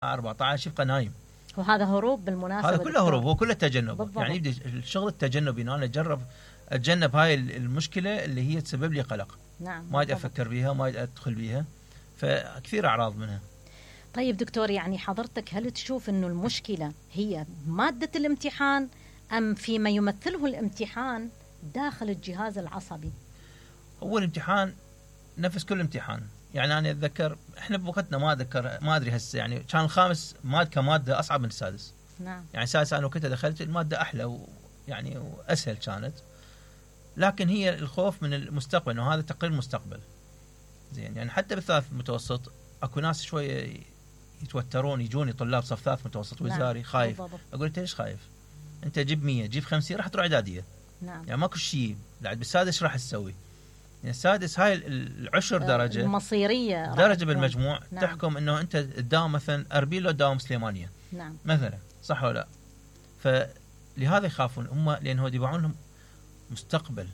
14 يبقى نايم. وهذا هروب بالمناسبة. هذا كله هروب، هو كله تجنب. بالضبط. يعني يبدأ الشغل التجنبي، أنا أتجنب هاي المشكلة اللي هي تسبب لي قلق. نعم. ما أدري أفكر بيها، ما أدري أدخل بيها، فكثير أعراض منها. طيب دكتور، يعني حضرتك هل تشوف أنه المشكلة هي مادة الامتحان أم فيما يمثله الامتحان داخل الجهاز العصبي؟ هو الامتحان نفس كل امتحان. يعني أنا أتذكر إحنا بوقتنا ما أدري هسه، يعني كان الخامس كمادة أصعب من السادس. نعم. يعني السادس أنا وقتها دخلت المادة أحلى يعني وأسهل كانت، لكن هي الخوف من المستقبل، إنه هذا تقرير مستقبل. زين، يعني حتى بالثالث متوسط أكو ناس شوية يتوترون، يجوني طلاب صف ثالث متوسط وزاري. نعم. خايف. بالضبط. أقول أنت ليش خايف؟ أنت جيب 100 جيب 50 راح تروح إعدادية. نعم. يعني ماكو شيء بعد بالسادس راح تسوي. يعني السادس هاي العشر درجة المصيرية درجة بالمجموع. نعم. تحكم إنه أنت تداوم مثلا أربيل لو تداوم سليمانية. نعم. مثلا صح ولا لا؟ فلهذا يخافون هم، لأنه يبيعون لهم مستقبل،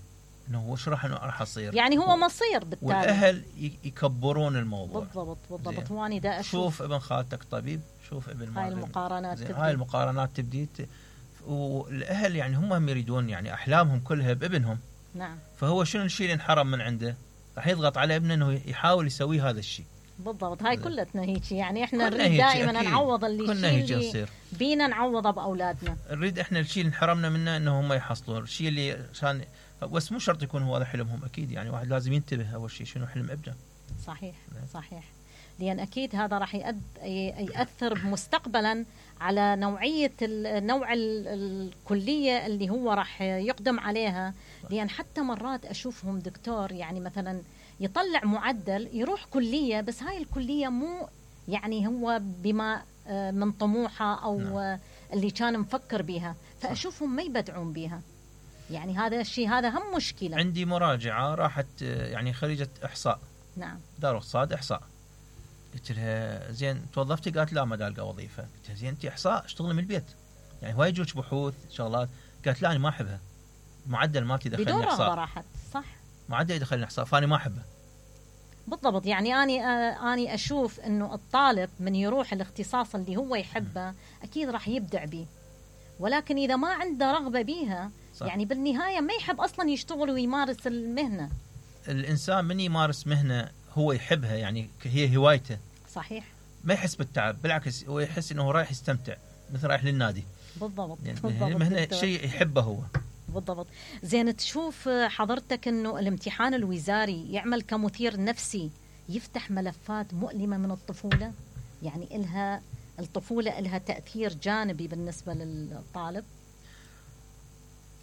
إنه هو شو راح أصير. يعني هو مصير بالتالي. والأهل يكبرون الموضوع. بالضبط. وأنا دا أشوف. شوف ابن خالتك طبيب، شوف ابن هاي المقارنات تبدي. هاي المقارنات تبدي والأهل يعني هم يريدون، يعني أحلامهم كلها بابنهم. نعم. فهو شنو الشيء اللي انحرم من عنده؟ راح يضغط على ابنه انه يحاول يسوي هذا الشيء. بالضبط. هاي كلتنا هيك، يعني احنا نريد دائما نعوض اللي بينا نعوضه باولادنا. نريد احنا الشيء اللي انحرمنا منه انه هم يحصلون الشيء اللي عشان، بس مو شرط يكون هو هذا حلمهم. اكيد يعني واحد لازم ينتبه اول شيء شنو حلم ابنه. صحيح. صحيح. لأن أكيد هذا راح يأثر مستقبلا على نوع الكلية اللي هو راح يقدم عليها. لأن حتى مرات أشوفهم دكتور، يعني مثلا يطلع معدل يروح كلية، بس هاي الكلية مو يعني هو بما من طموحه أو اللي كان مفكر بها، فأشوفهم ما يبدعون بها. يعني هذا الشيء هذا هم مشكلة. عندي مراجعة راحت يعني خريجة إحصاء. نعم. دار اقتصاد إحصاء. قلت لها زين توظفتي؟ قالت لا ما دالقى وظيفة. قلت لها زين انت إحصاء اشتغلي من البيت، يعني هواي يجوك بحوث شغلات. قالت لا انا ما احبها، المعدل مالتي دخلني إحصاء. بدون رغبة راحت. صح. معدل يدخلني إحصاء فاني ما احبه. بالضبط. يعني اني اشوف انه الطالب من يروح الاختصاص اللي هو يحبه اكيد راح يبدع به، ولكن اذا ما عنده رغبة بيها صح. يعني بالنهاية ما يحب اصلا يشتغل ويمارس المهنة. الانسان من يمارس مهنة هو يحبها، يعني هي هوايته. صحيح. ما يحس بالتعب، بالعكس هو يحس انه رايح يستمتع، مثل رايح للنادي. بالضبط. يعني المهنة شيء يحبه هو. بالضبط. زين، تشوف حضرتك انه الامتحان الوزاري يعمل كمثير نفسي، يفتح ملفات مؤلمة من الطفولة؟ يعني الطفولة إلها تأثير جانبي بالنسبة للطالب؟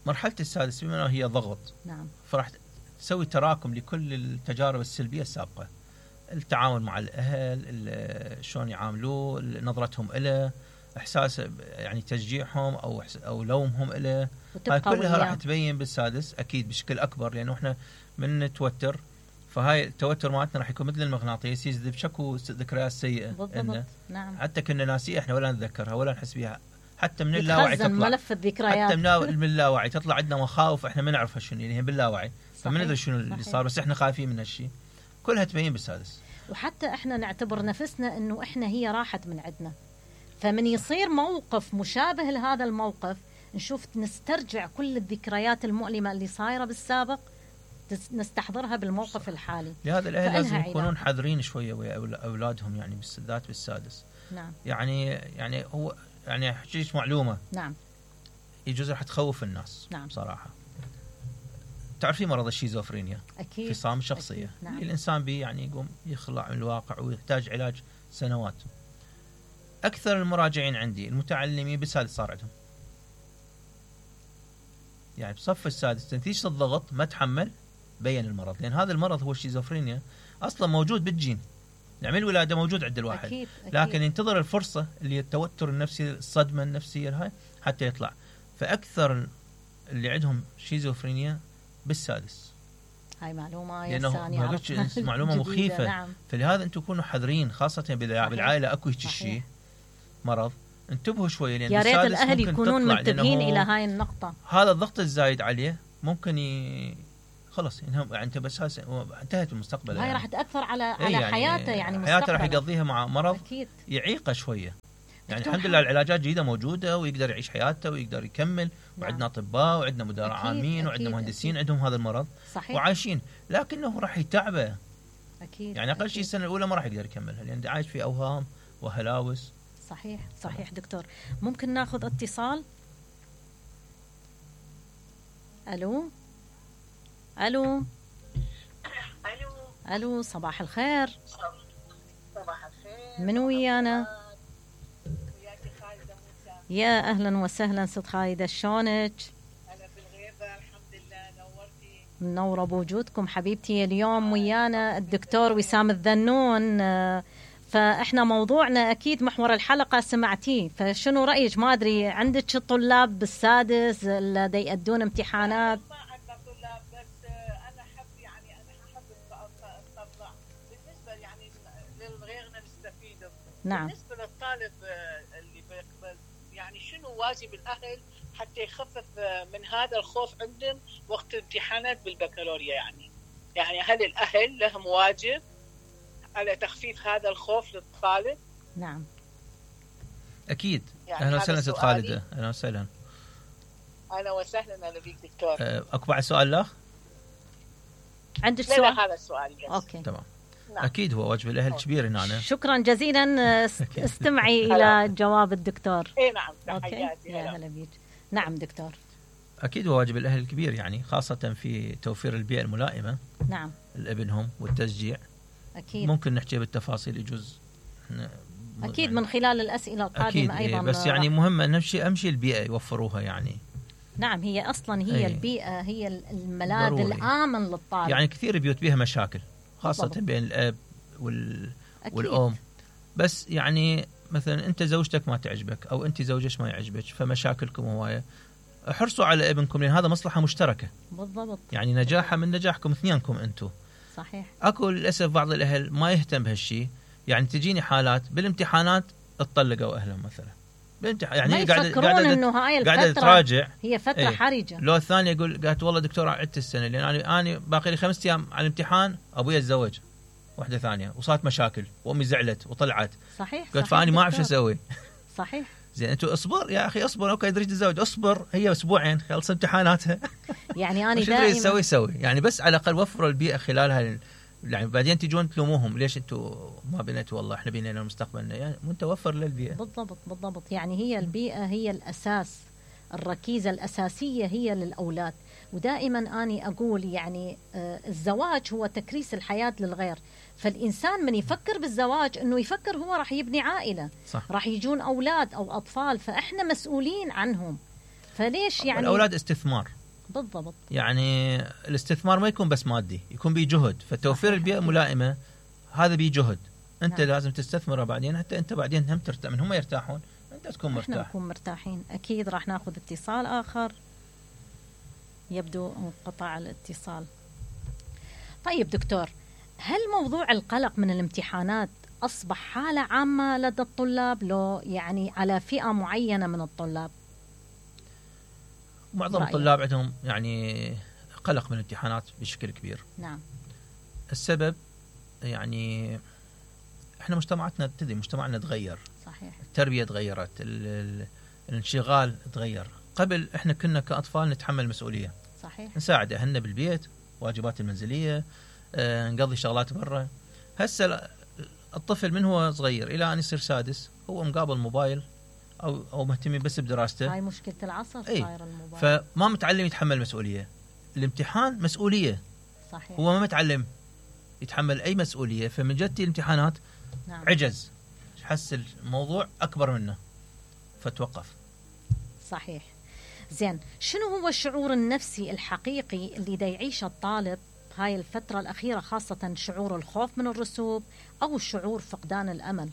مرحلة السادس بما هي ضغط. نعم. فراح تسوي تراكم لكل التجارب السلبية السابقة، التعامل مع الأهل، شلون يعاملوه، نظرتهم إله، إحساس يعني تشجيعهم أو لومهم إله، هاي كلها راح تبين بالسادس أكيد بشكل أكبر، لأنه إحنا من نتوتر، فهاي التوتر مالتنا راح يكون مثل المغناطيس يجذب شكو ذكريات سيئة. بالضبط. نعم. حتى كنا ناسية إحنا ولا نتذكرها ولا نحس بها، حتى من اللاوعي تطلع ملف الذكريات. حتى من اللاوعي تطلع عندنا مخاوف إحنا ما نعرفها شنو، يعني هي باللاوعي، فما ندري شنو اللي صار، بس إحنا خايفين من هالشيء. كلها تبين بالسادس. وحتى إحنا نعتبر نفسنا إنه إحنا هي راحت من عندنا، فمن يصير موقف مشابه لهذا الموقف نشوف نسترجع كل الذكريات المؤلمة اللي صايرة بالسابق نستحضرها بالموقف الحالي. لهذا الأهل لازم يكونون حذرين شوية ويا أولادهم، يعني بالذات بالسادس. نعم. يعني هو يعني أحكيك معلومة. نعم. يجوز راح تخوف الناس. نعم. بصراحة تعرفين مرض الشيزوفرينيا؟ أكيد. انفصام الشخصية. نعم. الإنسان يعني يقوم يخلع من الواقع ويحتاج علاج سنوات. أكثر المراجعين عندي المتعلمين بالسادس صار عندهم، يعني بصف السادس نتيجة الضغط ما تحمل بين المرض، لأن هذا المرض هو الشيزوفرينيا أصلا موجود بالجين، يعني من الولادة موجود عند الواحد. أكيد. لكن ينتظر الفرصة اللي التوتر النفسي، الصدمة النفسية هاي حتى يطلع. فأكثر اللي عندهم شيزوفرينيا بالسادس. هاي معلومة معلومة مخيفة. نعم. فلهذا أنتم كونوا حذرين، خاصة بالعائلة أكو شيء مرض، انتبهوا شوية، لأن يا ريت الأهل يكونون منتبهين إلى هاي النقطة. هذا الضغط الزايد عليه ممكن خلص يعني انت بس انتهت المستقبل. هاي يعني راح تاثر على حياته، يعني حياته راح يقضيها مع مرض أكيد. يعيقه شويه. يعني الحمد لله العلاجات جديده موجوده ويقدر يعيش حياته ويقدر يكمل. وعندنا اطباء وعندنا مدراء عامين وعندنا مهندسين عندهم هذا المرض. صحيح. وعايشين، لكنه راح يتعبه. اكيد. يعني اقل شيء السنه الاولى ما راح يقدر يكملها لان عايش في اوهام وهلاوس. صحيح دكتور. ممكن ناخذ اتصال؟ الو صباح الخير. صباح الخير. من ويانا؟ يا اهلا وسهلا ست خالده، شلونك؟ انا بالغيبه الحمد لله. نورتي. منوره بوجودكم حبيبتي. اليوم ويانا الدكتور وسام الذنون، فاحنا موضوعنا اكيد محور الحلقه سمعتيه، فشنو رايك؟ ما ادري عندك طلاب بالسادس اللي يأدون امتحانات؟ ما عندنا طلاب، بس انا احب الطلاب بالنسبه يعني لغيرنا نستفيد. نعم. بالنسبه للطالب اللي بيقبل، يعني شنو واجب الاهل حتى يخفف من هذا الخوف عندهم وقت الامتحانات بالبكالوريا؟ يعني هل الاهل لهم واجب على تخفيف هذا الخوف للطالب؟ نعم اكيد. يعني اهلا وسهلا ست خالده. اهلا وسهلا. اهلا وسهلا. اهلا بيك دكتور. اكو بعد سؤال لا؟ عندك سؤال؟ لا هذا السؤال بس. اوكي تمام. نعم. اكيد هو واجب الاهل كبير هنا. شكرا جزيلا. استمعي الى جواب الدكتور. اي نعم. تحياتي. يا هلا بيك. نعم دكتور. اكيد هو واجب الاهل الكبير، يعني خاصه في توفير البيئه الملائمه. نعم. لابنهم والتشجيع. اكيد. ممكن نحكي بالتفاصيل يجوز. اكيد يعني من خلال الاسئله القادمه أكيد. ايضا. بس يعني مهم امشي البيئه يوفروها يعني. نعم، هي اصلا هي البيئه هي الملاذ ضروري. الامن للطالب. يعني كثير بيوت بيها مشاكل خاصه بالضبط. بين الاب والام. بس يعني مثلا انت زوجتك ما تعجبك او انت زوجك ما يعجبك، فمشاكلكم هوايه. احرصوا على ابنكم لان هذا مصلحه مشتركه. بالضبط. يعني نجاحه من نجاحكم اثنينكم انتم. صحيح. اكو للاسف بعض الاهل ما يهتم بهالشيء. يعني تجيني حالات بالامتحانات اتطلقوا اهلهم مثلا بالامتحان. يعني هي قاعده تراجع. هي فتره حرجه. لو الثانيه يقول قالت والله دكتور عدت السنه لان انا باقي لي 5 ايام على الامتحان، ابوي تزوج واحده ثانيه وصارت مشاكل وامي زعلت وطلعت. صحيح. قلت فاني ما اعرف شو اسوي. صحيح. زين انتوا اصبر يا اخي اصبر. اوكي تريد تتزوج اصبر، هي اسبوعين خلص امتحاناتها. يعني انا دائما سوي يعني بس على الاقل وفروا البيئه خلالها. يعني بعدين تجون تلوموهم ليش انتوا ما بنيتوا؟ والله احنا بنينا مستقبلنا. يعني وانت وفر للبيئه. بالضبط. يعني هي البيئه هي الاساس، الركيزه الاساسيه هي للاولاد. ودائما اني اقول يعني الزواج هو تكريس الحياه للغير. فالإنسان من يفكر بالزواج أنه يفكر هو راح يبني عائلة. صح. راح يجون أولاد أو أطفال، فإحنا مسؤولين عنهم. فليش يعني الأولاد استثمار. بالضبط. يعني الاستثمار ما يكون بس مادي، يكون بيه جهد. فتوفير البيئة الملائمة هذا بيه جهد. أنت نعم. لازم تستثمره بعدين حتى أنت بعدين هم ترتاح. من هم يرتاحون أنت تكون مرتاح. إحنا نكون مرتاحين. أكيد راح ناخذ اتصال آخر. يبدو انقطع الاتصال. طيب دكتور، هل موضوع القلق من الامتحانات أصبح حالة عامة لدى الطلاب لو يعني على فئة معينة من الطلاب؟ معظم الطلاب عندهم يعني قلق من الامتحانات بشكل كبير. نعم. السبب يعني احنا مجتمعاتنا مجتمعنا تغير. صحيح. التربية تغيرت، الانشغال تغير. قبل احنا كنا كأطفال نتحمل مسؤولية. صحيح. نساعد أهلنا بالبيت، واجبات المنزلية، نقضي شغلات برا. هسه الطفل من هو صغير إلى أن يصير سادس هو مقابل موبايل أو مهتم بس بدراسته. هاي مشكلة العصر صاير الموبايل. فما متعلم يتحمل مسؤولية. الامتحان مسؤولية. صحيح. هو ما متعلم يتحمل أي مسؤولية، فمن جدتي الامتحانات نعم. عجز، حس الموضوع أكبر منه فتوقف. صحيح. زين، شنو هو الشعور النفسي الحقيقي اللي دا يعيشه الطالب هاي الفترة الأخيرة، خاصة شعور الخوف من الرسوب أو شعور فقدان الأمل؟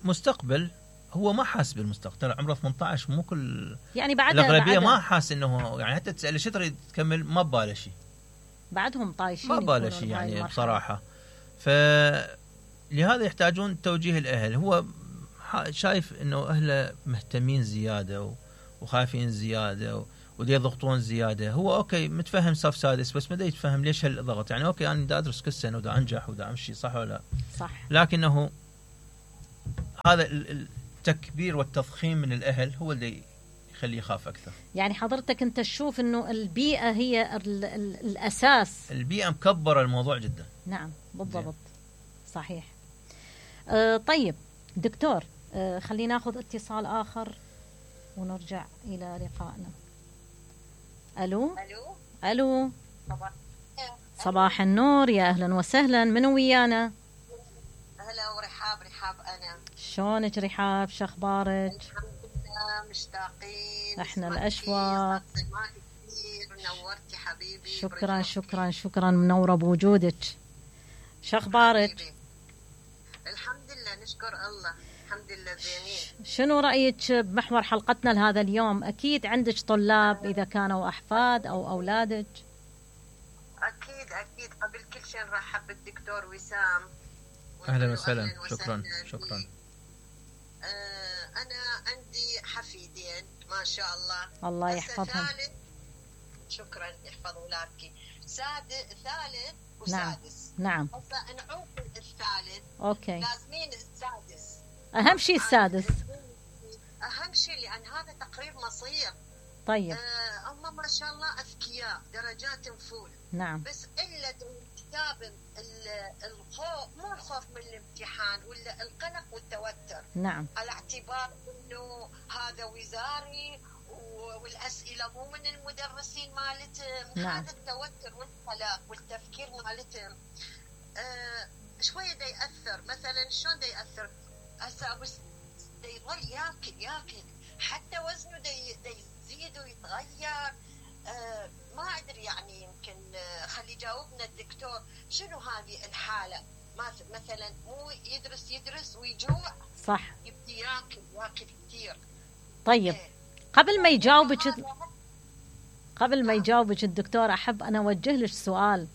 مستقبل هو ما حاس بالمستقبل. عمره 18 مو كل يعني بعد الأغلبية ما حاس إنه يعني حتى تسأله شو تريد تكمل ما بباله شيء. بعدهم طايشين ما بباله شيء يعني بصراحة. فلهذا يحتاجون توجيه الأهل. هو شايف إنه أهله مهتمين زيادة وخايفين زيادة ودي يضغطون زياده. هو اوكي متفهم صف سادس، بس ما دا يتفهم ليش هالضغط. يعني اوكي انا دا ادرس كل سنه ودا انجح ودا امشي، صح ولا لا؟ صح. لكنه هذا التكبير والتضخيم من الاهل هو اللي يخليه يخاف اكثر. يعني حضرتك انت تشوف انه البيئه هي الاساس، البيئه مكبره الموضوع جدا. نعم بالضبط. صحيح. طيب دكتور، خلينا ناخذ اتصال اخر ونرجع الى لقائنا. الو. الو. صباح النور، يا اهلا وسهلا، منو ويانا؟ هلا ورحاب. رحاب انا. شلونك رحاب؟ شو اخبارك؟ الحمد لله، مشتاقين. احنا الاشواق. نورتي حبيبي. شكرا شكرا شكرا، منوره بوجودك. شو اخبارك؟ الحمد لله، نشكر الله، الحمد لله زينين. شنو رايك بمحور حلقتنا لهذا اليوم؟ اكيد عندك طلاب اذا كانوا احفاد او اولادك. اكيد اكيد. قبل كل شيء نرحب بالدكتور وسام. اهلا وسهلا. شكرا شكرا. انا عندي حفيدين ما شاء الله. الله يحفظهم. شكرا، يحفظ اولادك. ثالث وسادس. نعم. هسه نعوق الثالث. اوكي. لازمين السادس. اهم شيء السادس. اهم شيء لان هذا تقريب مصير. طيب. هم ما شاء الله اذكياء، درجات فول. نعم. بس الا كتاب الخوف، مو الخوف من الامتحان ولا القلق والتوتر. نعم. على اعتبار انه هذا وزاري والاسئله مو من المدرسين مالتهم. نعم. هذا التوتر والقلق والتفكير مالتهم شويه دا ياثر. مثلا شلون دا ياثر؟ هسه بس دا يظل ياكل حتى وزنه دا يزيد ويتغير. ما ادري يعني، يمكن خلي يجاوبنا الدكتور شنو هذه الحاله. مثلا مو يدرس ويجوع. صح. يبدي ياكل كثير. طيب قبل ما يجاوبك الدكتور، احب انا اوجه لك سؤال.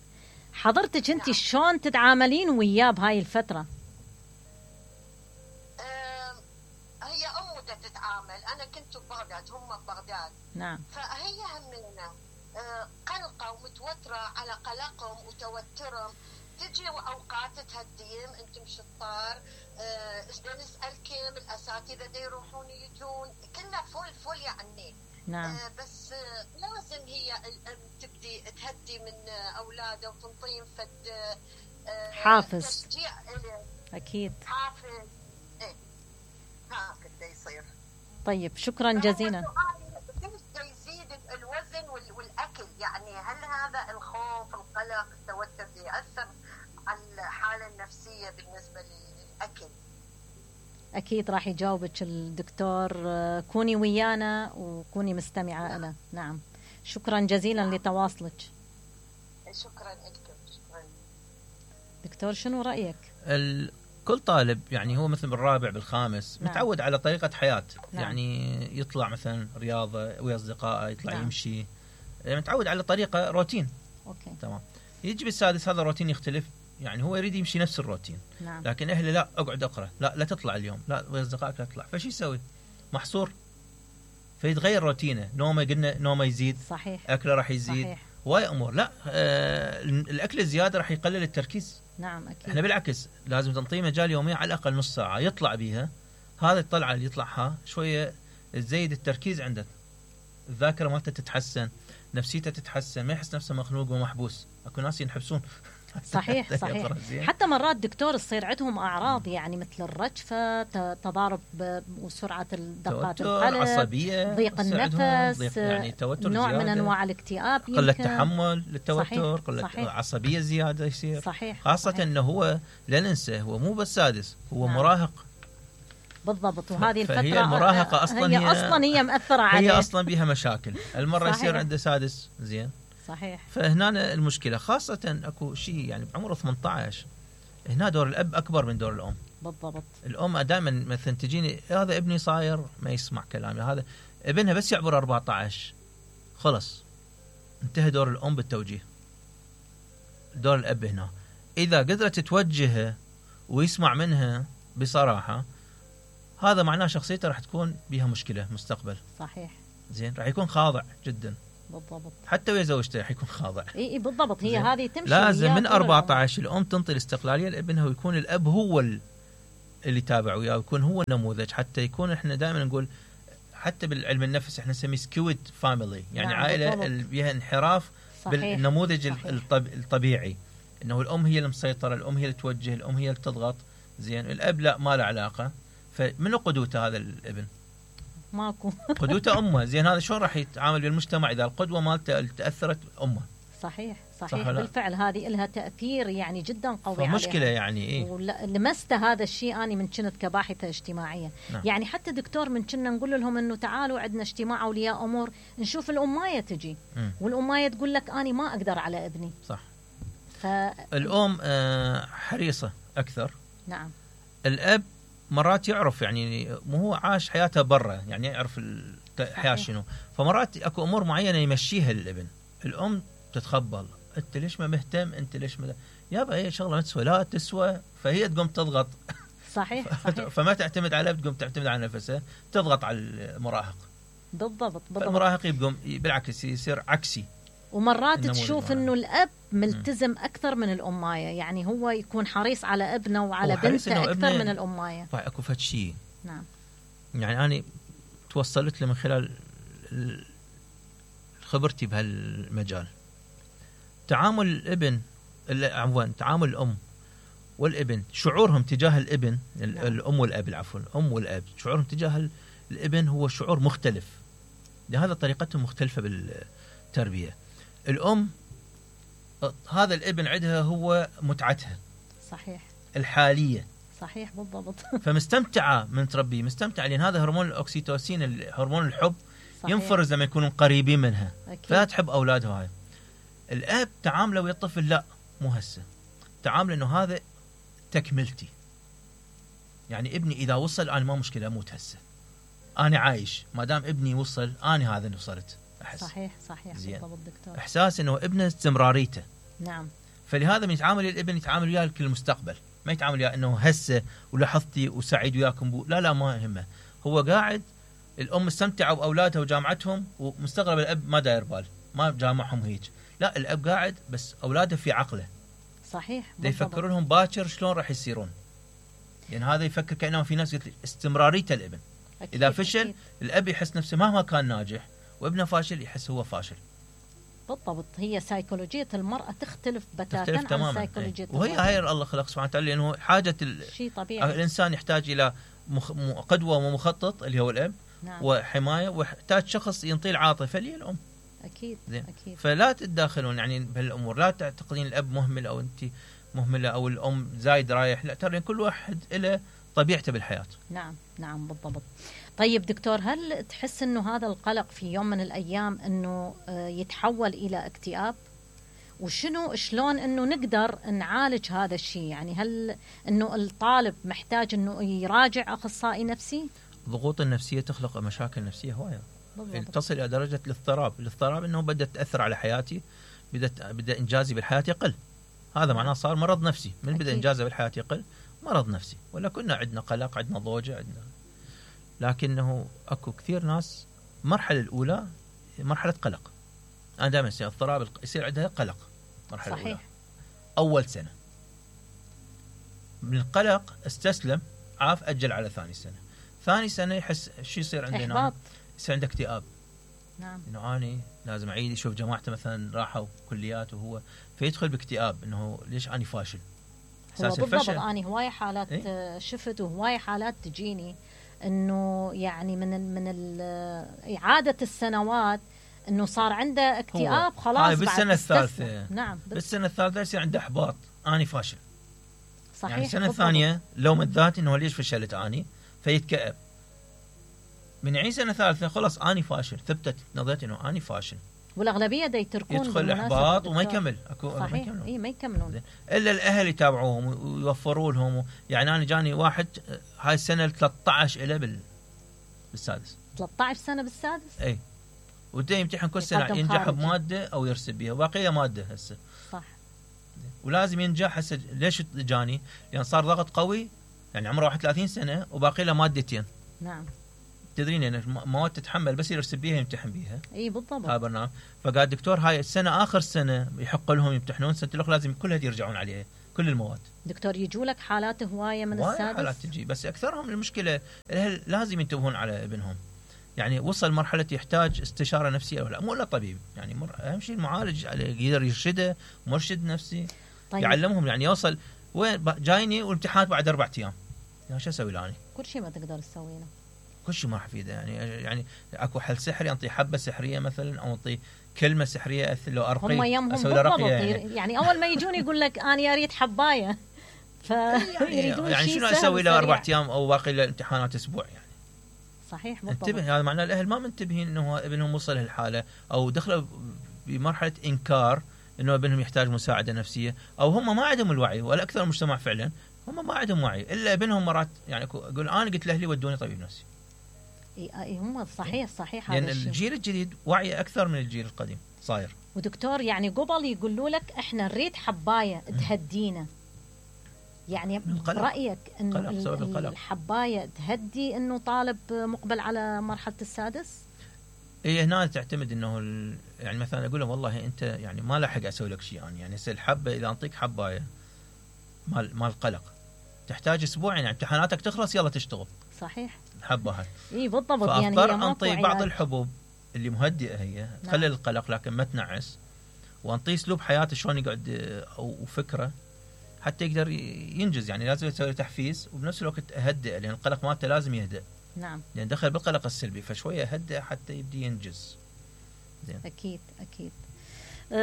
حضرتك انت شلون تتعاملين وياه بهاي الفتره؟ هي امه تتعامل. انا كنت ببغداد، هم ببغداد. نعم. فهي همنا قلقه ومتوتره على قلقهم وتوترهم. تجي اوقات تهديهم، انتم شطار، ايش نسالكم، الاساتذه دا يروحون يجون، كلها فول يعني. نعم. بس لازم هي تبدي تهدي من اولاده وتنطيهم فد حافز. تشجيع. اكيد حافز. هكذا يصير. طيب شكرا جزيلا. يزيد الوزن والاكل. يعني هل هذا الخوف، القلق، التوتر يأثر على الحاله النفسيه بالنسبه للاكل؟ اكيد راح يجاوبك الدكتور. كوني ويانا وكوني مستمعه له. نعم. شكرا جزيلا لتواصلك. شكرا لكم. شكرا دكتور. شنو رايك؟ كل طالب يعني هو مثل بالرابع بالخامس. نعم. متعود على طريقه حياه. نعم. يعني يطلع مثلا رياضه ويا اصدقائه، يطلع نعم. يمشي، متعود على طريقه روتين. اوكي. تمام. يجي بالسادس هذا الروتين يختلف. يعني هو يريد يمشي نفس الروتين. نعم. لكن اهله لا، اقعد اقرا، لا تطلع اليوم، لا ويا اصدقائك لا تطلع. فشي يسوي؟ محصور. فيتغير روتينه. نومه قلنا نومه يزيد. صحيح. اكله راح يزيد. صحيح. واي امور. لا الاكل الزياده راح يقلل التركيز. نعم اكيد. احنا بالعكس لازم تنطيه مجال يوميا على الاقل نص ساعه يطلع بيها. هذا الطلعه اللي يطلعها شويه تزيد التركيز عنده، الذاكره مالته تتحسن، نفسيته تتحسن، ما يحس نفسه مخنوق ومحبوس. اكو ناس ينحبسون. صحيح صحيح. حتى مرات دكتور تصير عندهم اعراض يعني مثل الرجفه، تضارب وسرعه دقات القلب، عصبيه، ضيق النفس، يعني توتر نوع زيادة. من انواع الاكتئاب، قله تحمل للتوتر. قله صحيح. عصبيه زياده يصير. صحيح. خاصه صحيح. انه هو لا ننسى هو مو بس سادس، هو نعم. مراهق. بالضبط. وهذه الفتره هي المراهقه اصلا هي مأثره عليه. هي اصلا بها مشاكل. المره صحيح. يصير عنده سادس زين. صحيح. فهنا المشكله. خاصه اكو شيء يعني بعمره 18 هنا دور الاب اكبر من دور الام. بالضبط. الام دائما مثلا تجيني هذا ابني صاير ما يسمع كلامي، هذا ابنها بس يعبر 14 خلص انتهى دور الام بالتوجيه. دور الاب هنا اذا قدرت توجهه ويسمع منها بصراحه، هذا معناه شخصيته راح تكون بها مشكله مستقبل. صحيح. زين راح يكون خاضع جدا بالضبط. حتى ويا زوجته راح يكون خاضع. اي بالضبط. هي هذه تمشي لازم من 14 الام تنطي الاستقلاليه لابنها، ويكون الاب هو اللي تابع وياه، ويكون هو النموذج. حتى يكون احنا دائما نقول حتى بالعلم النفس احنا نسميه سكويد فاميلي، يعني عائله اللي فيها انحراف بالنموذج الطبيعي، انه الام هي المسيطره، الام هي اللي توجه، الام هي اللي تضغط. زين الاب لا، ما له علاقه. فمنو قدوته هذا الابن؟ ماكو. قدوته امه. زين هذا شلون راح يتعامل بالمجتمع اذا القدوه مالته اللي تاثرت امه؟ صحيح بالفعل هذه لها تاثير يعني جدا قوي عليها. مشكله يعني ايه. ولمست هذا الشيء اني من كنت كباحثه اجتماعيه. نعم. يعني حتى دكتور من كنا نقول لهم انه تعالوا عندنا اجتماع اولياء امور نشوف الامايه تجي والامايه تقول لك اني ما اقدر على ابني. صح. الام حريصه اكثر. نعم. الاب مرات يعرف، يعني مو هو عاش حياته برا، يعني يعرف الحياه شنو، فمرات اكو امور معينه يمشيها للابن. الام تتخبل، انت ليش ما مهتم، انت ليش ما يابا هي شغله ما تسوى، لا تسوى، فهي تقوم تضغط. صحيح. فما تعتمد على تقوم تعتمد على نفسها، تضغط على المراهق. بالضبط. المراهق يقوم بالعكس يصير عكسي. ومرات تشوف انه الاب ملتزم اكثر من الامايه، يعني هو يكون حريص على ابنه وعلى بنته اكثر من الامايه. اكو فد شيء. نعم. يعني انا توصلت له من خلال خبرتي بهالمجال. تعامل الابن، عفوا تعامل الام والابن، شعورهم تجاه الابن، الام والاب، عفوا الام والاب، شعورهم تجاه الابن هو شعور مختلف، لهذا طريقتهم مختلفه بالتربيه. الام هذا الابن عندها هو متعتها. صحيح. الحاليه. صحيح بالضبط. فمستمتعه من تربيه، مستمتعه لان هذا هرمون الاكسيتوسين، هرمون الحب. صحيح. ينفرز لما يكونوا قريبين منها. فلا تحب اولادها. هاي الاب تعامله ويا الطفل لا مو هسه، تعامله انه هذا تكملتي، يعني ابني اذا وصل انا ما مشكله اموت هسه، انا عايش ما دام ابني وصل، انا هذا اللي وصلت احس. صحيح بالضبط دكتور. احساس انه ابنه استمراريته. نعم. فلهذا من يتعامل الابن يتعامل وياه لكل المستقبل، ما يتعامل وياه انه هسه ولاحظتي وسعيد وياكم لا ما يهمه، هو قاعد الام مستمتعه باولادها وجامعتهم، ومستغرب الاب ما داير بال، ما جامعهم هيك، لا الاب قاعد بس اولاده في عقله. صحيح. يفكر لهم باكر شلون راح يصيرون، يعني هذا يفكر كانه في ناس قلت استمراريته الابن. اذا فشل أكيد. الاب يحس نفسه مهما كان ناجح، وابنه فاشل يحس هو فاشل. بالضبط. هي سيكولوجيه المراه تختلف بتاتا عن سيكولوجيه وهي هاي الله خلق سبحانه وتعالى، لانه حاجه شيء طبيعي. الانسان يحتاج الى قدوه ومخطط اللي هو الاب. نعم. وحمايه، ويحتاج شخص ينطي العاطفه اللي هي الام. اكيد. فلا تتداخلون يعني بهالامور، لا تعتقدين الاب مهمل او انت مهمله او الام زايد رايح، لا ترى كل واحد له طبيعته بالحياه. نعم بالضبط. طيب دكتور، هل تحس انه هذا القلق في يوم من الايام انه يتحول الى اكتئاب؟ شلون انه نقدر نعالج هذا الشيء؟ يعني هل انه الطالب محتاج انه يراجع اخصائي نفسي؟ الضغوط النفسيه تخلق مشاكل نفسيه هوايه، تصل الى درجه الاضطراب انه بدات تاثر على حياتي، بدا انجازي بالحياه يقل. هذا معناه صار مرض نفسي، من بدا انجازه بالحياه يقل مرض نفسي. ولا كنا عندنا قلق، عندنا ضوجه، عندنا، لكنه اكو كثير ناس المرحله الاولى مرحله قلق. انا دائما يصير اضطراب، يصير عندها قلق مرحله صحيح. الاولى اول سنه، من القلق استسلم، عاف اجل على ثاني سنه يحس شو يصير عندنا، يصير عنده اكتئاب. نعم. انه اني لازم اعيد، يشوف جماعته مثلا راحوا كليات وهو فيدخل باكتئاب، انه ليش اني فاشل. هو بالضبط. اني هواي حالات شفت وهواي حالات تجيني انه يعني من اعاده السنوات انه صار عنده اكتئاب خلاص بالسنه الثالثه. نعم. بالسنه الثالثه يصير عنده احباط، اني فاشل. صحيح. يعني السنه الثانيه لوم الذات انه ليش فشلت اني، فيتكئب. من يعيد سنه ثالثه خلاص اني فاشل، ثبتت نظرتي انه اني فاشل. والاغلبيه دا يتركون، يدخل احباط وما يكمل. صحيح. ما يكملون الا الاهل يتابعوهم ويوفروا لهم. يعني انا جاني واحد هاي السنه 13 له بالسادس. 13 سنه بالسادس. اي. وده يمتحن كل سنه، ينجح بماده او يرسب بها، وباقيه ماده هسه. صح. ولازم ينجح هسه. ليش جاني؟ لان صار ضغط قوي، يعني عمره 31 سنه وباقي له مادتين. نعم. تدرين ان مواد تتحمل بس يرسل بيها يمتحن بيها. اي بالضبط. هذا برنامج. فقال الدكتور هاي السنه اخر سنه يحق لهم يمتحنون، سنه الاخرى لازم كلها يرجعون عليها كل المواد. دكتور يجوا لك حالات هوايه من السادس؟ حالات تجي، بس اكثرهم المشكله الاهل لازم ينتبهون على ابنهم. يعني وصل مرحله يحتاج استشاره نفسيه ولا مو الا طبيب، يعني اهم شيء المعالج يقدر يرشده، مرشد نفسي. طيب. يعلمهم يعني يوصل وين جايني والامتحانات بعد 4 ايام، يعني شو اسوي له انا؟ كل شيء ما تقدر تسوي له، كل شيء ما راح يفيده. يعني اكو حل سحري، انطي حبه سحريه مثلا، او انطي كلمه سحريه لو ارقي، هم يمهم بالضبط. يعني اول ما يجون يقول لك انا اريد حبايه، يعني شنو اسوي له 4 ايام او باقي الامتحانات اسبوع يعني. صحيح بالضبط. انتبه، هذا معناه الاهل ما منتبهين انه ابنهم وصل لهالحاله، او دخلوا بمرحله انكار انه ابنهم يحتاج مساعده نفسيه، او هم ما عندهم الوعي. ولا اكثر المجتمع فعلا هم ما عندهم وعي، الا ابنهم مرات يعني يقول انا قلت لاهلي ودوني طبيب نفسي. اي هم صحيح هذا الشيء. الجيل الجديد وعي اكثر من الجيل القديم صاير. ودكتور يعني قبل يقولوا لك احنا نريد حبايه تهدينا، يعني برأيك انه الحبايه تهدي انه طالب مقبل على مرحله السادس؟ هي هنا تعتمد انه يعني مثلا اقول له والله انت يعني ما لحق اسوي لك شيء يعني هسه الحبه اذا انطيك حبايه مال قلق تحتاج اسبوعين، يعني امتحاناتك تخلص يلا تشتغل. صحيح. الحبه هاي. اي بالضبط. يعني فاضطر انطي بعض الحبوب اللي مهدئه هي تقلل القلق لكن ما تنعس، وانطيه اسلوب حياته شلون يقعد او فكره حتى يقدر ينجز. يعني لازم يسوي تحفيز وبنفس الوقت اهدئ، لان القلق مالته لازم يهدأ. نعم. لان دخل بالقلق السلبي، فشويه اهدئ حتى يبدي ينجز. زين. اكيد.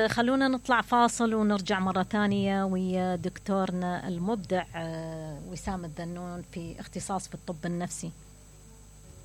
خلونا نطلع فاصل ونرجع مرة ثانية ويا دكتورنا المبدع وسام الذنون في اختصاص في الطب النفسي.